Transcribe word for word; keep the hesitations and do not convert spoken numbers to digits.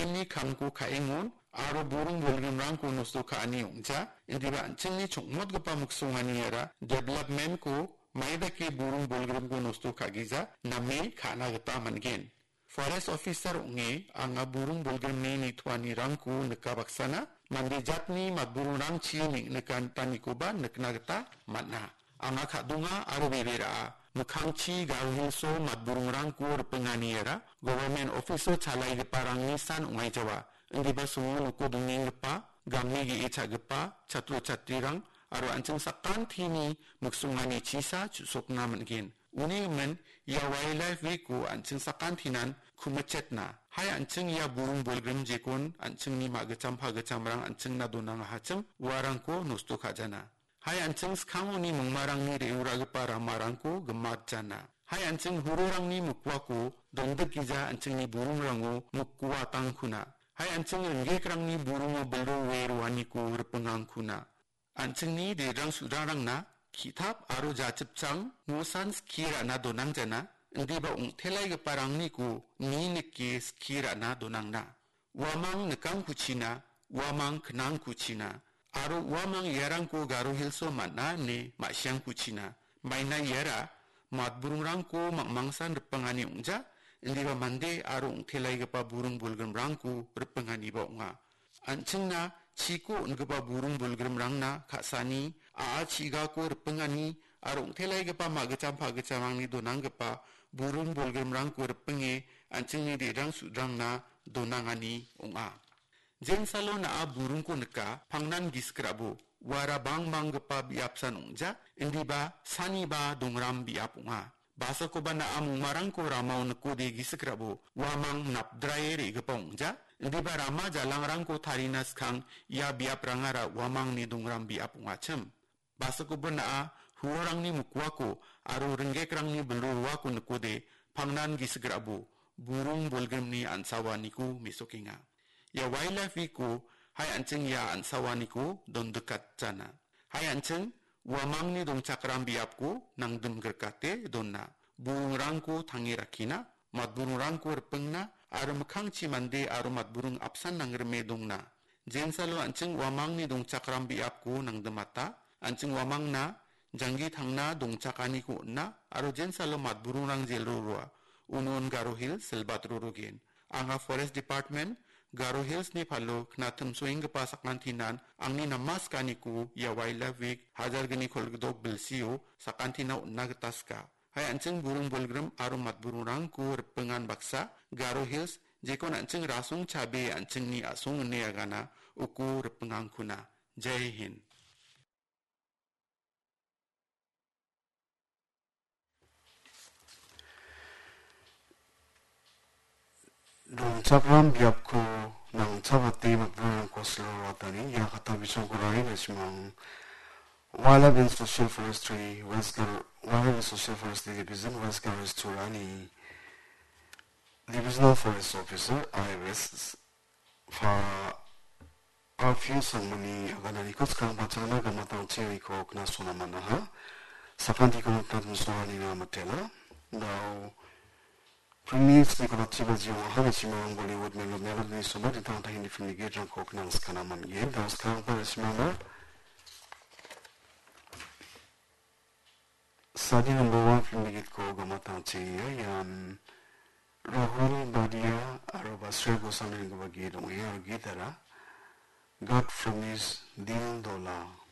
An·chingni kamko ka·engon aro buring bolgrimrangko nosto ka·ani ong·ja, indiba an·chingni chongmotgipa miksongani iara development-ko maidake buring bolgrimko nosto ka·gija name ka·na gita man·gen. Forest Officer ong·e anga buring bolgrimni nitoanirangko nika baksana, mande jatni matburingrangchi neng·nikantanikoba nikna gita man·a. Anga ka·donga aro bebera·a. Mikkangchi Garo Hills-o matburingrangko ripengani iara government office-o chalaigiparangni san ong·aijawa. Indiba songo noko dongenggipa, game ge·e cha·gipa chatro chatrirang aro an·ching sakantini miksongani chisa chu·sokna man·gen. Uni gimin, ia Wildlife Week-o an·ching sakantinan kumichetna. Hai an·ching ia buring bolgrim jekon an·chingni ma·gitcham pagitchamrang an·chingna donangahachim uarangko nosto ka·jana. Hai an·ching skangoni mingmarangni re·uragipa ramarangko gimatjana. Hai an·ching hurorangni mikuako dondikgija an·chingni buringrango mikuatangkuna. Hai an·ching ringgekrangni buringo bilroe roaniko ripengangkuna. An·chingni derang sudrarangna ki·tap aro jachipchang mosan skie ra·na donangjana, indiba ong·telaigiparangniko ni nike skie ra·na donangna. Uamang nikangkuchina, uamang knangkuchina, aro uamang iarangko Garo Hills-o man·a ine ma·siangkuchina. Maina iara matburingrangko mangmangsan ripengani ong·ja, indiba mande aro ong·telaigipa buring bolgrimrangko ripenganiba ong·a. An·chingna chiko on·gipa buring bolgrimrangna ka·sani, a·a chigako ripengani aro ong·telaigipa ma·gitcham pagitchamrangni donanggipa buring bolgrimrangko ripenge an·chingni derang sudrangna donangani ong·a. Jensalo na·a buringko nika, pangnan gisik ra·bo, uara bangbanggipa biapsan ong·ja, indiba saniba dongram biap ong·a. Basakoba na·a mongmarangko ramao nikode gisik ra·bo, uamang napdrae re·gipa ong·ja, indiba rama jalangrangko tarina skang ia biaprangara uamangni dongram biap ong·achim. Basakoba na·a huorangni mikuako aro ringgekrangni bilroako nikode pangnan gisik ra·bo, buring bolgrimni an·sawaniko mesokenga. Ia Wildlife Week-o hai an·ching ia an·sawaniko dondikatjana. Hai an·ching uamangni dongchakram biapko nangdimgrikate dona. Buringrangko tange rakkina, matburingrangko ripengna, aro mikkangchi mande aro matburing apsan nangrime dongna. Jensalo an·ching uamangni dongchakram biapko nangdimata, an·ching uamangna janggi tangna dongchakaniko on·a, aro jensalo matburingrang jelro roa. Unon Garo Hills silbat rorogen. Anga Forest Department, Garo Hills-ni palo knatimsoenggipa sakantinan angni namaskaniko ia Wildlife Week hajar gni kolgdok bilsio sakantina on·na gita sika. Hai an·ching buring bolgrim aro matburingrangko ripengan baksa, Garo Hills, jekon an·ching rasong chabe an·chingni a·song ine agana, uko ripengangkuna. Jai Hind. Dongchakram biapko nangchabate matburingko silrotani ia kata bisongko rari nasimang. Wildlife and Social Forestry, West Gar-, Wildlife and Social Forestry Division, West Garo Hills Turani Divisional Forest Officer, I West, pa Alfio Sangmani agananiko skang pachangna gamatangchi riko knasona manaha. Sakantiko nikna tmsora nina matela. Dao Premier Nicolas Chibaji waha nasimang Bollywood melo melo ni soba ditang tahin di film ni gate rangko knang skana man ye. Dao skang pa nasimang na. Sadi number one film ni gate ko gamatangchi ya ian Rahul Badia aro Basre Goswami ni gate ong ya gate ara. God Promise Dil Dola.